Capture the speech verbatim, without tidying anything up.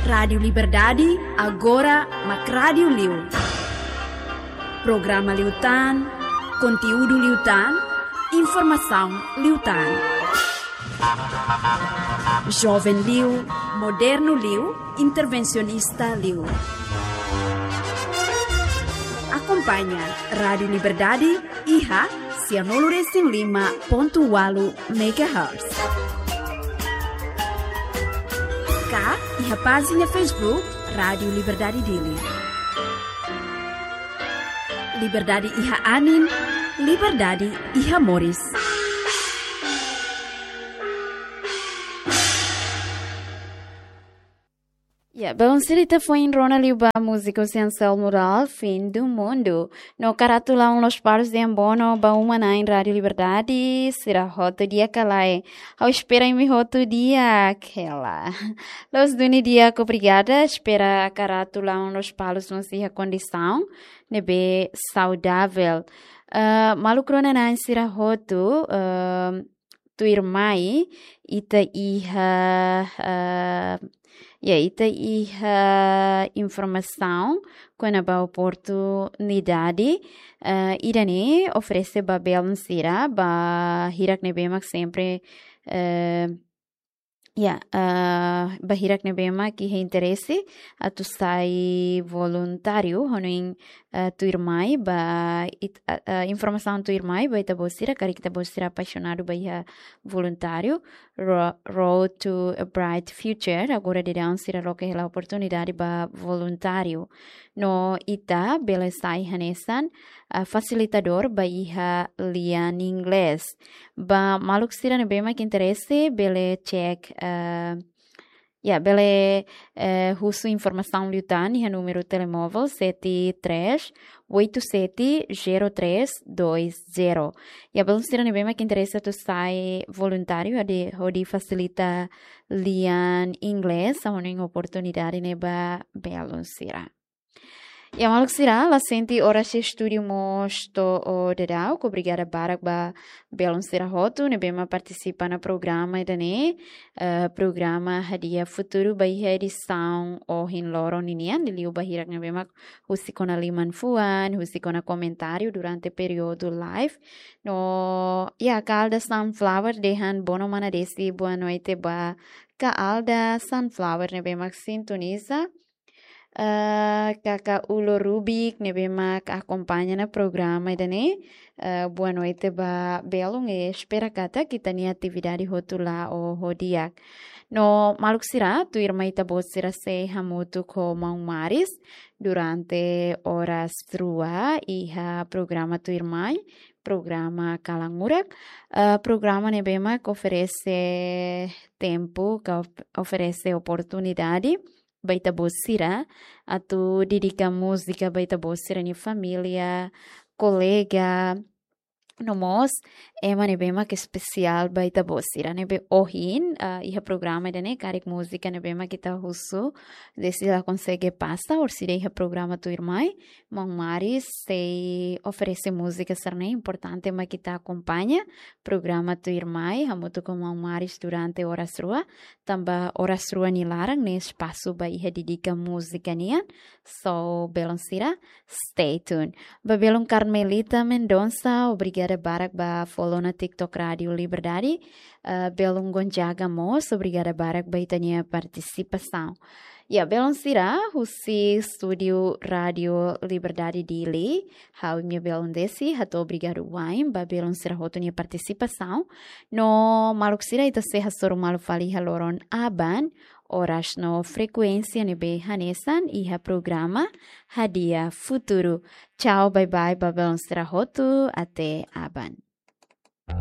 Rádiu Liberdade, agora mak rádiu liu. Programa liután, konteúdu liután, informasaun liután. Joven liu, modernu liu, intervensionista liu. Akompaña Rádiu Liberdade iha sianulu resin lima pontu ualu megahertz. Ka iha pájina Facebook Rádiu Liberdade Dili. Liberdade iha anin, liberdade iha moris. Ya, belun sira, ita foin rona liu ba múzika husi Anselmo Dural, Fim do Mundo. No hakarak atu la'o la'o lospalos dehan bono ba uma-na'in Rádiu Liberdade, sira hotu di'ak ka lae. Ha'u espera imi hotu di'ak, hela. Loos duni di'ak, obrigada, espera hakarak atu la'o la'o lospalos mós iha kondisaun ne'ebé saudavel. Eh, maluk rona-na'in sira hotu, eh, tuirmai, ita iha, eh, ya, ita iha informasaun kona-ba oportunidade, eh, ida-ne'e oferese ba belun sira, ba hirak ne'ebé mak sempre, eh, ya, eh, ba hirak ne'ebé mak iha interese atu sai voluntáriu, hanoin, eh, tuirmai ba it-, eh, eh, informasaun tuirmai ba ita-boot sira, karik ita-boot sira apaixonadu ba iha voluntáriu, Ro-, Road to a Bright Future, agora daudaun sira loke hela oportunidade ba voluntáriu. No ita bele sai hanesan, eh, fasilitadór ba iha lian inglés. Ba maluk sira ne'ebé mak interese, bele cek, eh, ya, bele, eh, husu informasaun liután iha númeru telemóvel sete três oito sete zero três dois zero. Ya, belun sira ne'ebé mak interese atu sai voluntáriu hodi, hodi fasilita lian inglés, hanoin oportunidade ne'e ba belun sira. Ya, maluk sira, la sente oras iha estúdiu mós to'o daudauk, obrigada barak ba belun sira hotu ne'ebé mak partisipa ona programa ida-ne'e, eh, programa Hadi'a Futuru ba iha edisaun ohin loron ninian, liuliu ba hirak ne'ebé mak husik ona liman-fuan, husik ona komentáriu durante períodu live. No, ya, Kaalda Sunflower dehan bono mana Desi, boa noite ba Kaalda Sunflower ne'ebé mak sintoniza. Eh, Kaka Ulo Rubik ne'ebé mak akompaña ona programa ida-ne'e. Eh, boa noite ba belun, eh, espera katak ita-nia atividade hotu la'o ho di'ak. No maluk sira, tuirmai ita-boot sira sei hamutuk ho maun Maris durante oras rua iha programa tuirmai, programa Kalan Murak, eh, programa ne'ebé mak oferese tempu, ka of-, oferese oportunidade ba ita-boot sira atu dedika múzika ba ita-boot sira-nia família, kolega, no mós ema ne'ebé mak espesiál ba ita-boot sira. Ne'ebé ohin, ah, iha programa ida-ne'e karik múzika ne'ebé mak ita husu, Desi la konsege pasa, orsida iha programa tuirmai, maun Maris sei oferese múzika sira-ne'e, importante mak ita akompaña programa tuirmai hamutuk ho maun Maris durante oras rua, tanba oras rua nia laran ne'e espasu ba iha dedika múzika nian. So, belun sira, stay tuned. Ba belun Carmelita Mendonça, obrigada barak ba follow ona TikTok Rádiu Liberdade. Eh, belun Gonzaga mós, obrigada barak ba ita-nia partisipasaun. Ya, belun sira, husi estúdiu Rádiu Liberdade Dili, ha'u imi-nia belun Desi hato'o obrigadu wa'in ba belun sira hotu nia partisipasaun. No maluk sira, ita sei hasoru malu fali iha loron aban, oras no frekuénsia ne'ebé hanesan iha programa Hadi'a Futuru. Tchau, bye bye ba belun sira hotu, até aban.